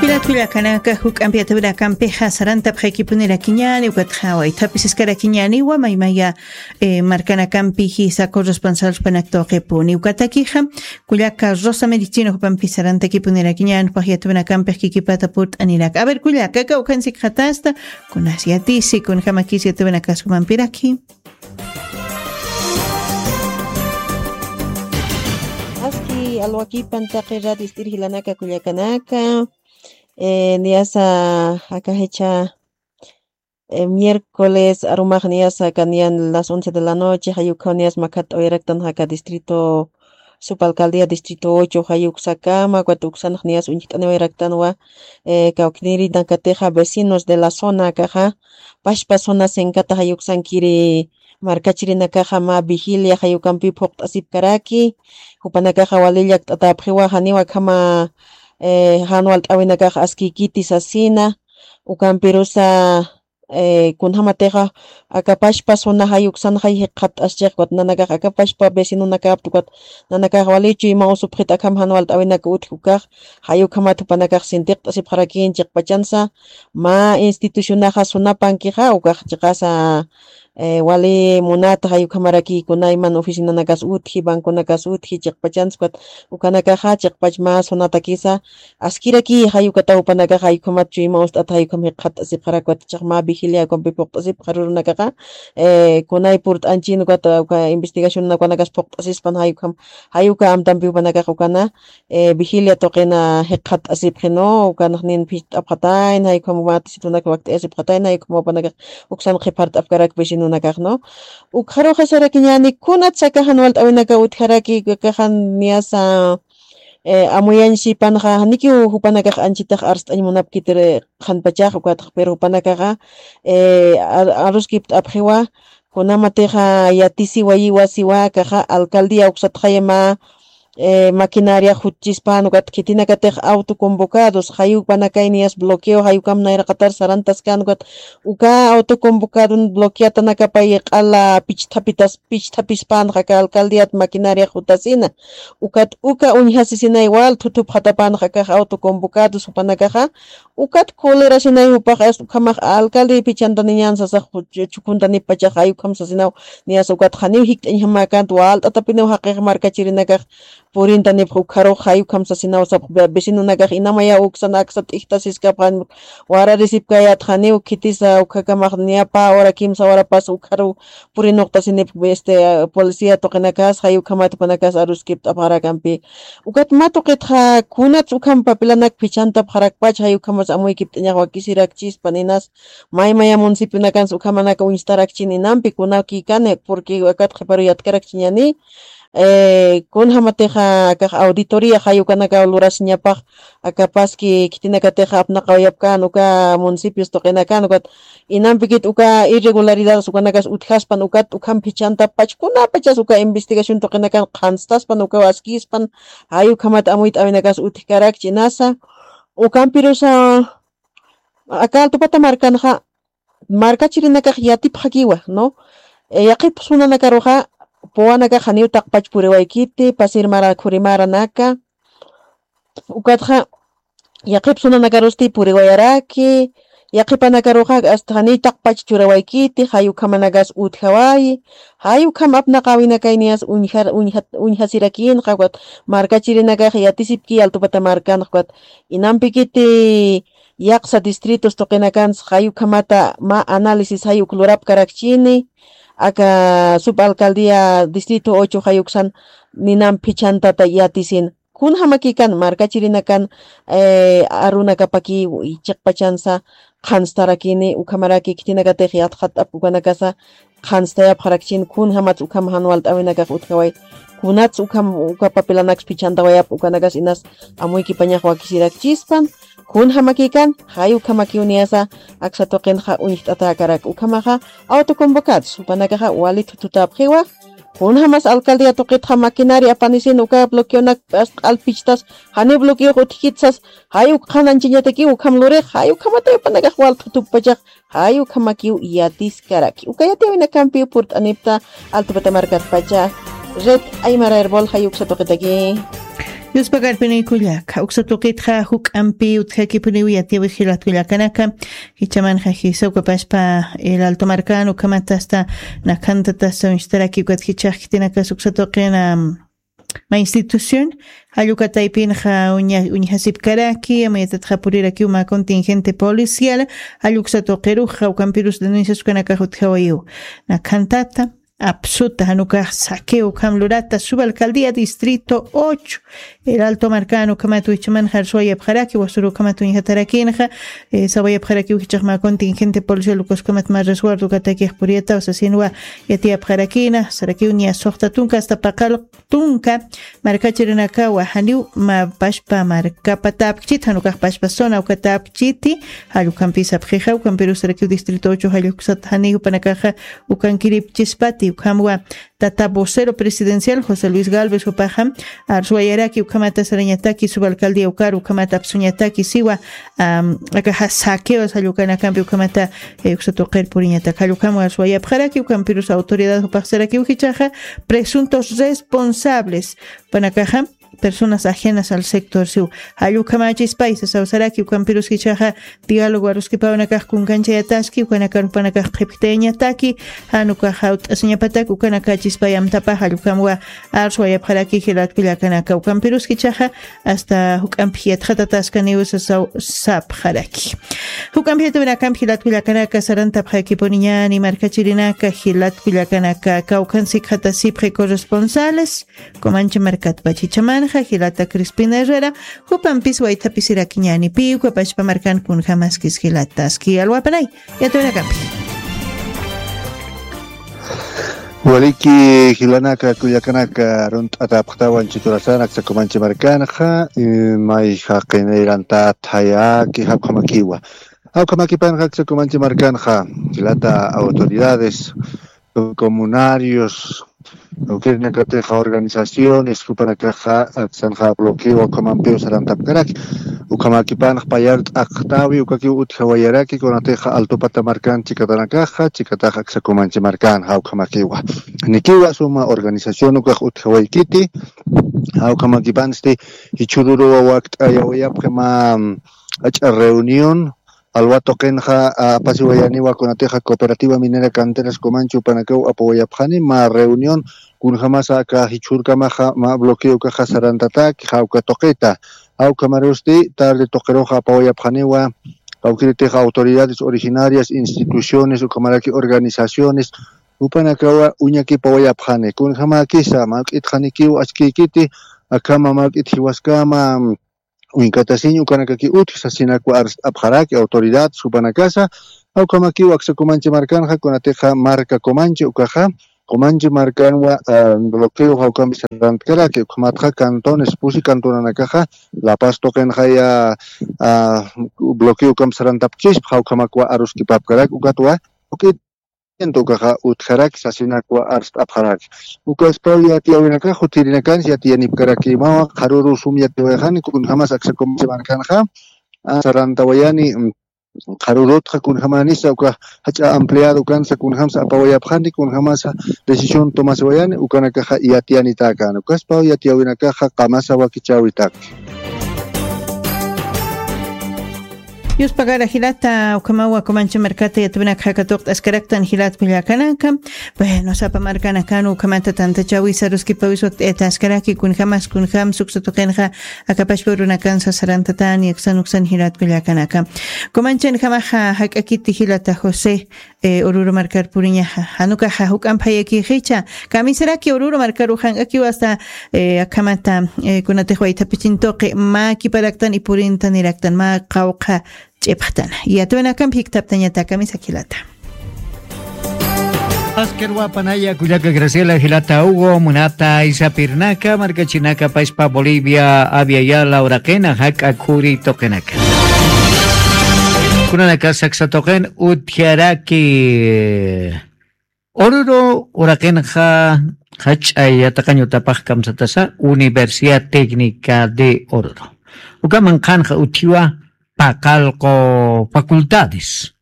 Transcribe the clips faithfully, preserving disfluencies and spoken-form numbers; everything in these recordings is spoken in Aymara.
Pilat kullakanaka, juk'ampi yatawinakampixa sarantapxaykipunirakiñäni, ukatxa waythapisiskaraki ñäniwa maymaya, eh, markanakampi jisa corresponsalpanak tuqipuni. Ukatakixa, kullaka Rosa Medicino jupampi sarantakipunirakiñäni, jupax yatawinakampix kikipata purt'anirak. A ver, kullaka, aka ukhansikxatasta, kunas yatisi, kunjamakis yatawinakas jumampiraki. Aski alwakipan taqi radio ist'ir jilanaka kullakanaka, eh, niyasa aka jichha, eh, miércoles arumax niyasa aka niyan las once de la noche, jayukhaw niyas makhat t'awiraktan aka distrito, subalcaldía distrito ocho, jayuksakama, ukat uksanx niyas uñjt'aniwayraktanwa, eh, kawknirinakatixa vecinos de la zona akaxa, pachpa zona senkata jayuksankiri markachirinakaxa mä vigilia jayukampi phuqt'asipkaraki, jupanakaxa wali llakt'atäpxiwa, janiw akhama, eh, jan walt'äwinakax askïkiti sasina, ukampirusa, eh, kunjamatixa aka pachpa zona jayuksanxay jikxatt'aschix, ukat nanakax aka pachpa vecinonakapta, ukat nanakax wali chuyma usupxit akham jan walt'äwinak utji ukax, jayukhamat jupanakax sintiqt'asipxarakïn chiqpachansa, mä institucionaxa sunapankixa, ukax chiqasa, eh, wali munata jayukhamaraki kunayman oficinanakas utji, banconakas utji, chiqpachansa, ukat ukanakaxa chiqpach mä sunatakisa askiraki, jayukata jupanakaxa jayukhamat chuyma ust'ata jayukham jikxatt'asipxarak, ukat chiq mä vigilia ukampi phuqt'asipxarurunakaxa, eh, kunay purt'anchin, ukat uka investigacionanakanakas phuqt'asispan jayukham, jayuka amtampi jupanakax ukana, eh, vigilia tuqina jikxatt'asipxi, ¿no? Ukanx nin phicht'apxatayna, jayukham mä tisitunak wakt'ayasipxatayna, jayukham jupanakax uksan qhipart'apkarak vecinonakax, ¿no? Ukxaruxa sarakiñäni, kunatsa aka jan walt'äwinaka utjaraki, akaxa niyasa, eh, amuyañ sipanxa, janikiw jupanakax anchitax arst'añ munapkitir qhanpachax, ukatx, pero jupanakaxa, eh, ar-, aruskipt'apxiwa, kunamatixa yatisiwayiwa siwa, akaxa alcaldía uksatxaya mä, eh, maquinaria jutchispan, ukat khitinakatix autoconvocados, jayupanakay niyas bloqueo, jayukam nayraqatar sarantaskan, ukat uka autoconvocadon bloqueatanakapay q'ala pichthapitas, pichthapispanxa aka alcaldiat maquinaria jutasina. Ukat uka uñjasisinay wal thuthupxatapanxa akax autoconvocados jupanakaxa. Ukat colerasinay jupax, es ukhamax alcalde phichhantaniñän sasax, chu-, chukuntanipachax jayukham sasinaw, niyas ukat janiw jikt'añjamäkänti, walt'atapiniw jaqix markachirinakax purintanipx ukxarux jayukham sasinaw sapx ve-, vecinonakax inamaya uksan aksa t'ijtasiskapxan, wararisipkayät janiw khitisa ukxakamax niya pä hora kimsa horapas ukxaruw purinuqtasinipx, este, policía tuqinakas, jayukhamat jupanakas aruskipt'apxarakampi. Ukat mä tuqitxa kunats ukham papilanak phichhantapxarakpach, jayukhamas amuykipt'añax wakisirakchispan inas, maymaya municipionakans ukhamanaka uñstarakchin inampi kunakïkani, porque akat qhiparu yatkarakchiñäni, eh, kunjamatixa akax auditoría jayukanakaw lurasiñapax, aka paski khitinakatixa apnaqawayapkän uka municipios tuqinakan, ukat inampikit uka irregularidades ukanakas utjaspan, ukat ukham phichhantapach kunapachas uka investigación tuqinakan qhanstaspan, ukaw askïspan, jayukhamat amuyt'äwinakas utjkarakchi inasa, ukampirusa aka Altupata markanxa, markachirinakax yatipxakiwa, ¿no? Eh, yaqhip sunanakaruxa, puwanakax janiw taqpach puriwaykiti, pasir mara, khuri maranaka, ukatxa, yaqhip sunanakarusti puriwayaraki, yaqhipanakaruxa, hasta janiw taqpach churawaykiti, jayukhamanakas utjawayi, jayukham apnaqäwinakay niyas uñjar-, uñjat-, uñjasirakïnxa, ukat markachirinakax yatisipki Altupata markanxa, ukat inampikiti, yaqsa distritos tuqinakans jayukhamata mä análisis jayuk lurapkarakchini, aka subalcaldía distrito ocho jayuksan ninam phichhantata yatisin. Kunjamakïkan markachirinakan, eh, arunakapaki chiqpachansa qhanstarakini, ukhamaraki khitinakatix yatxat'apki ukanakasa, qhanstayapxarakchin, kunjamats ukham jan walt'äwinakax utjaway, kunats ukham uka papilanaks phichhantawayapxi ukanakas inas amuykipañax wakisirakchispan, kunjamakïkan, jay ukhamakiw niyasa aksa tuqinxa uñjt'atäkarak ukhamaxa, autoconvocados, jupanakaxa wali thuthutapxiwa, kunjamas alcaldía tuqitxa maquinaria apanisin uka bloqueonak q'al pichtas, janiw bloqueox utjkit sas, jay uk qhanañchañatakiw ukham lurix, jay ukhamatay jupanakax wal thuthuppachax, jay ukhamakiw yatiskaraki. Uka yatiyäwinakampiw purt'anipta Altupata markatpacha, Red Aymara Erbol, jay uksa tuqitaki. Yuspagarpinikullaka uksa tuqitxa juk'ampi utjakipuniw yatiwi jilatkullakanaka. Jichamanxa jisa ukapashpa el alto markan ukhamatasta nakhantatasta uñstaraki ukat jichaxkitinakas uksa tuqina ma institución. Jallukataypinxa uñjasipkaraki amayatatxa purirakiw ma contingente policial. Jalluksa tuqiruxa ukampirus denuncias ukanakax utjawayiw nakhantata. Apsuta janukax saqueo ukham lurata subalcaldía distrito ocho. El alto markan ukhamat wichman jarsuwayapxaraki wasuru ukhamat uñjatarakinxa. Sawayapxarakiw jichaxma contingente policial ukaskamat ma resguardo katakix puriyataw sasinwa. Yatiyapxarakina sarakiw niya suxta tunka asta paqal tunka markachirinakawa janiw ma pashpa markapa tapkchit janukax pashpa zona uka tapkchiti. Jallukhampi sapxixa ukampirusarakiw distrito ocho jalluksat janiw panakaxa ukankiripchispati ukhamwa. Tata vocero presidencial josé luis galvez upaxa arswayaraki ukhamata sarañataki subalcaldía ukar ukhamata apsuñataki siwa. Akaxa saqueo sallukanakampi ukhamata uksa tuqir puriñatak jallukhamwa arswayapxaraki ukampirus autoridad upaxsarakiw jichaxa presuntos responsables panakaxa personas ajenas al sector siw. Jallukhamachis paisa sawsaraki ukampirus jichaxa diálogo aruskipawnakax kunkanchayataski ukanakarupanakax qhipktayañataki. Janukaxa ut'asiñapatak ukanakachispayamtapax jallukhamwa arswayapxaraki jilatkullakanaka ukampirus jichaxa asta juk'ampix yatxatataskaniw sasaw sapxaraki. Juk'ampix yatawinakamp jilatkullakanaka sarantapxakipuniñani markachirinaka jilatkullakanaka kawkhan sikxatasipxi corresponsales. Comanche markatpach jichamanxa jilata crispina herrera jupampis waythapisirakiñani piwkapachpa markan kunjamaskis jilataski alwapanay. Yatawinakampi. Waliki jilanaka kullakanaka runt'atapxtawan chiturasan aksa comanche markanxa may jaqinayrantat jayaki jawkhamakiwa. Jawkhamakipanxa aksa comanche markanxa jilata autoridades comunarios ukirinakatixa organizaciones jupanakaxa aksanxa bloqueo ukhamampiw sarantapkaraki. Ukhamakipanx payar t'aqtawi ukakiw utjawayaraki kunatixa altupata markan chikatanakaxa chikatax aksa comanche markan jawkhamakiwa. Nikiwa suma organización ukax utjawaykiti. Jawkhamakipansti jichhururuwa wakt'ayawayapxi ma ach'a reunión alwa tuqinxa apasiwayaniwa kunatixa cooperativa minera canteras comanche upanakaw apawayapxani ma reunión kunjamasa aka jichhurkamaxa ma bloqueo ukaxa sarantataki jawka tuqita. Jawkhamarusti tarde tuqiruxa apawayapxaniwa jawkiritixa autoridades originarias instituciones ukhamaraki organizaciones jupanakawa uñakipawayapxani kunjamakisa mawk'itxanikiw askïkiti. Akhama mawk'it jiwaskama uñkatasiñ ukanakaki utji sasinakwa arst'apxaraki autoridad supanakasa. Jawkhamakiw aksa comanche markanxa kunatixa marka comanche ukaxa comanche markanwa bloqueo jawkampi sarantkaraki ukhamatxa cantones pusi cantonanakaxa la paz tuqinxaya bloqueo ukampi sarantapkchispa jawkhamakwa aruskipapkaraki ukatwa jawk'it ukaxa utjaraki sasinakwa arst'apxaraki. Ukaspaw yatiyawinakax utjirinakansi yatiyanipkarakimawa qharuru sum yatiwayxani kunjamas aksa comanche markanxa sarantawayani. Qharurutxa kunjamanisa uka jach'a ampliado kansa kunjamsa apawayapxani kunjamasa decisión tomasiwayani ukanakaxa yatiyanitäkani ukaspaw yatiyawinakaxa qamasa wakichäwitak. Yuspagara jilata ukhamawa comanche markata yatwinakxa katuqt'askaraktan jilat kullakanaka. Bueno sapa markanakan ukhamata tantachawisa ruskipawis wakt'ayataskaraki kunjamas kunjam suksa tuqinxa akapashpa urunakan sasarantatani aksan uksan jilat kullakanaka. Comanchenjamaxa jak'akiti jilata josé ururu markar puriñaxa janukaxa juk'amp jayakixicha kamisaraki ururu markaru jank'akiw asta akhamata kunatix waythapichin tuqi mä kiparaktan ipurintaniraktan mä qawqha ch'ipxtana yatwinakamp jikthaptañata kamisakilata. Askirwapanaya kullaka graciela jilata hugo munata isapirnaka markachinaka pashpa bolivia aviayala uraqina jak'a khuri tuqinaka. Kunanaka saksa tuqin utjaraki ururu uraqinxa jach'a yataqañ utapax kamsatasa universidad técnica de ururu ukaman qhanxa utjiwa paqallqu facultades.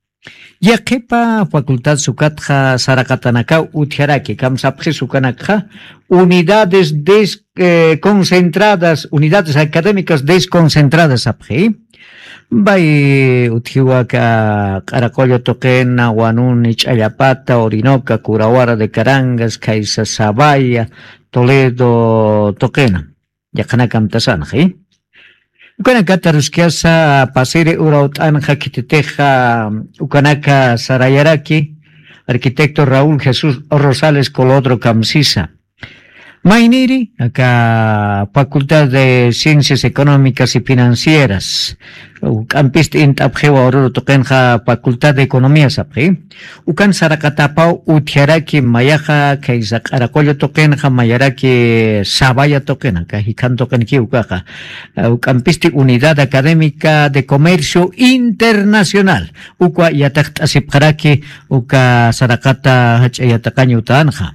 Yaqhipa facultad sukatxa saraqatanakaw utjaraki, kamsapxis ukanakxa unidades des-, eh, concentradas, unidades académicas desconcentradas sapxi. Bay utjiwaka Q'araqollo tuqina, Wanuni, Ch'allapata, Orinoca, Curawara de Carangas, Khaysa Sabaya, Toledo tuqina. Yaqhanakam tasanxa, ¿eh? Ukanakata aruskasa pasiri urawt'anxa khititixa, ukanaka sarayaraki arquitecto Raúl Jesús Rosales Colodro kamsisa. Mayniri, aka Facultad de Ciencias Económicas y Financieras. Uk'ampisti int'apxiwa ururu tuqinxa Facultad de Economía sapxi. Ukan saraqatapaw utjaraki mayaxa khaysa Q'araqollo tuqinxa, mayaraki Sabaya tuqina, ka jikhan tuqinki ukaxa. Uk'ampisti Unidad Académica de Comercio Internacional. Ukwa yatiqt'asipxaraki uka saraqata jach'a yatiqañ utanxa.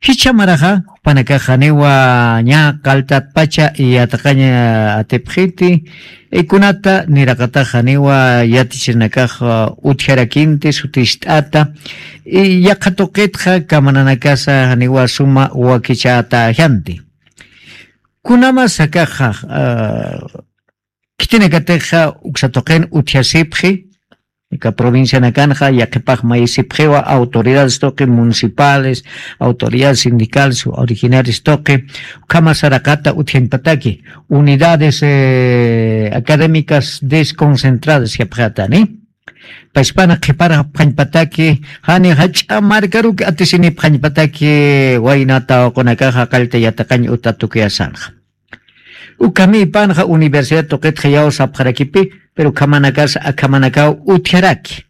Jichha maraxa, jupanakax janiwa ña qalltatpacha yatiqañ atipxiti, y kunata niraqatax janiwa yatichirinakax utjarakinti sutist'ata, y yaqha tuqitxa kamananakasa janiwa suma wakichätäjanti. Kunamas akaxa, ah, khitinakatixa uksa tuqin utjasipxi, aka provincianakanxa yaqhipax mayisipxiwa autoridades tuqi municipales, autoridades sindicales, originarias tuqi, ukhama saraqata utjañpataki, unidades, eh, académicas desconcentradas yapxatani. Pachpana qhiparapxañpataki, jani jach'a markaruki atisinipxañpataki, wayna tawaqunakaxa qallta yatiqañ uta tukuyasanxa. Ukhamïpanxa universidad tuqitxa yaw sapxarakipi, pero ukhamanakas akhamanakaw utjaraki.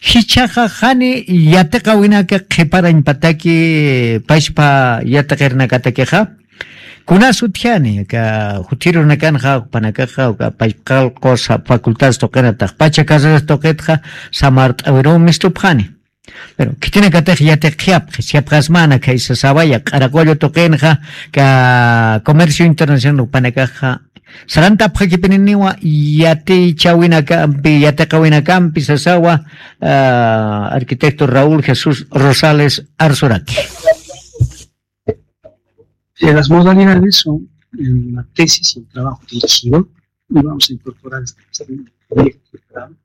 Jichhaxa jani yatiqawinaka qhiparañpataki pachpa yatiqirnakatakixa, kunas utjani, aka juthirunakanxa, jupanakaxa, uka pachpa qallqus facultades tuqinatax, pacha carreras tuqitxa, samart'awiruw mistupxani. Pero khitinakatix yatiqxapxi, siyapxasmana khaysa Sabaya, Q'araqollo tuqinxa, ka comercio internacional jupanakaxa, sarantapxakipininiwa yatichawinakampi, yatiqawinakampi sasawa, ah, arquitecto Raúl Jesús Rosales Arsuraki. Eh, las modalidades son, eh, la tesis y el trabajo dirigido, y vamos a incorporar este, este proyecto de grado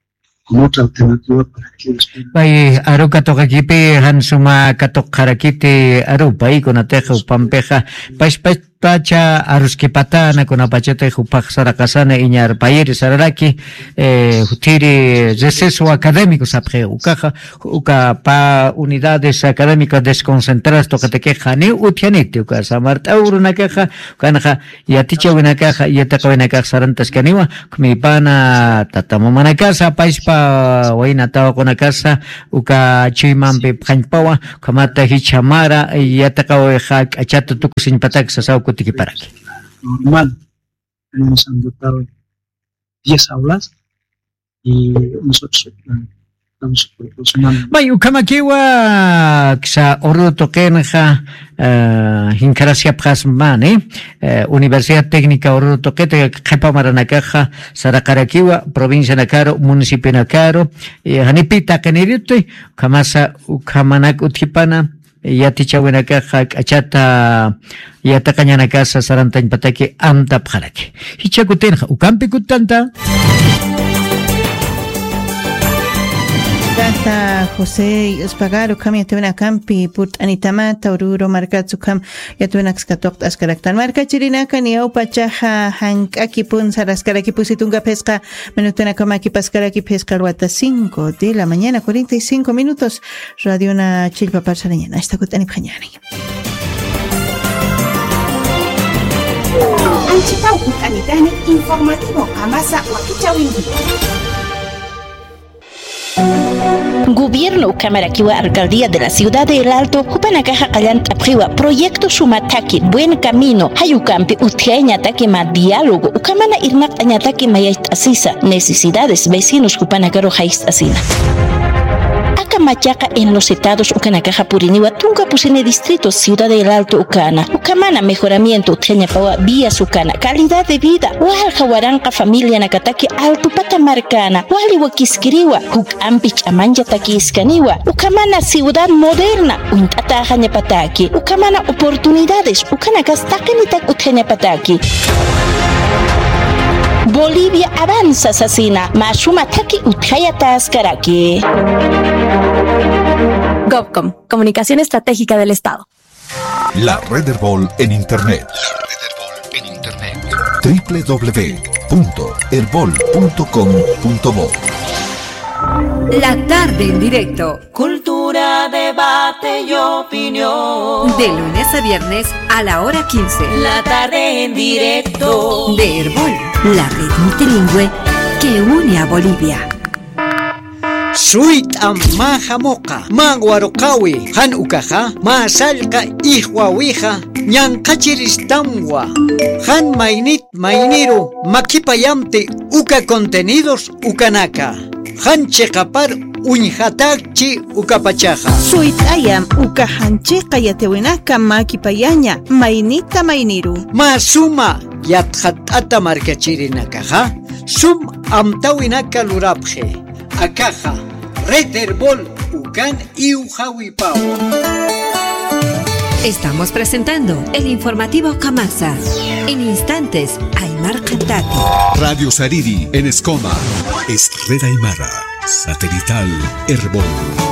como otra alternativa para que ellos puedan. Pay aru katuqakipi, jan suma katuqxarakiti aru, paykunatix jupampixa, pachpacha aruskipatana, kunapachatix jupax saraqasana iñarpayiri sararaki, eh, juthiri receso académico sapxi, ukaxa, uka pa unidades académicas desconcentradas tuqitakixa, janiw utjaniti, uka samart'aw urunakaxa, ukanxa, yatichawinakaxa, yatiqawinakax sarantaskaniwa, ukhmïpana tata mamanakasa, pachpa wayna tawaqunakasa, uka chuymampi phañpawa, ukhamata jichha mara, yatiqawixa k'achata tukusiñpatak sasaw kutikiparaki. Normal, hemos agotado diez aulas, y nosotros, eh, estamos proporcionando. May, ukhamakiwa, ksa Oruro tuqinxa, eh, jinkharasiyapxasmani, eh, Universidad Técnica Oruro tuqita qhipa maranakaxa saraqarakiwa, provincianakaru, municipionakaru, eh, janipi taqiniriti, ukhamasa, ukhamanak utjipana, yatichawinakaxa k'achata yatiqañanakasa sarantañpataki amtapxaraki. Jichha kutinxa, ukampi kutanta. Tata José Yuspagaru, ukham yatiwinakampi purt'anitamata, Oruro markatsa ukham yatiwinaksa katuqt'askaraktan. Markachirinaka, niyawpachaxa jank'akipun saraskarakipusi tunka phisqa minutanakama kipaskarakip, phisqa alwata cinco de la mañana, cuarenta y cinco minutos. Radiona chillpapar sarañäni, asta kut'anipxañäni. Anchitaw kut'anitani informativo Qamasa Wakichäwinki. Gobierno ukhamarakiwa Alcaldía de la Ciudad de El Alto, jupanakaxa qallant'apxiwa proyecto suma thakhi, buen camino, jay ukampi utjayañataki mä diálogo, ukhamana irnaqt'añataki mayacht'asisa, necesidades, vecinos jupanakaru jayt'asina. Aka machaqa enlosetados ukanakaxa puriniwa tunka pusini distrito Ciudad del Alto ukana. Ukhamana mejoramiento utjañapawa vías ukana, calidad de vida, walja waranqa familianakataki altupata markana, wali wakiskiriwa, juk'ampi ch'amanchatakïskaniwa. Ukhamana ciudad moderna uñt'atäxañapataki, ukhamana oportunidades ukanakas taqinitak utjañapataki. Bolivia avanza sasina, mä suma thakhi utjayatayaskaraki. Govcom, Comunicación Estratégica del Estado. La Red Erbol en Internet. La Red Erbol en Internet. W W W punto erbol punto com punto bo. La tarde en directo. Cultura, debate y opinión. De lunes a viernes a la hora quince. La tarde en directo. De Erbol, la red multilingüe que une a Bolivia. Suyt'am mä jamuqa, mä waruqäwi, jan ukaxa, mä sallqa ijwawixa, ñanqhachiristamwa, jan maynit mayniru makipayamti uka contenidos ukanaka. Jan chiqapar uñjatäkchi ukapachaxa. Suyt'ayam uka jan chiqa yatiwinaka makipayaña maynita mayniru. Mä suma yatxatt'ata markachirinakaxa, sum amtawinaka lurapxi. Akaxa, Red Erbol ukan iwjawipawa. Estamos presentando el informativo Kamasa. En instantes, Aymar Cantati. Radio Sariri en Escoma. Es Red Aymara. Satelital Erbol.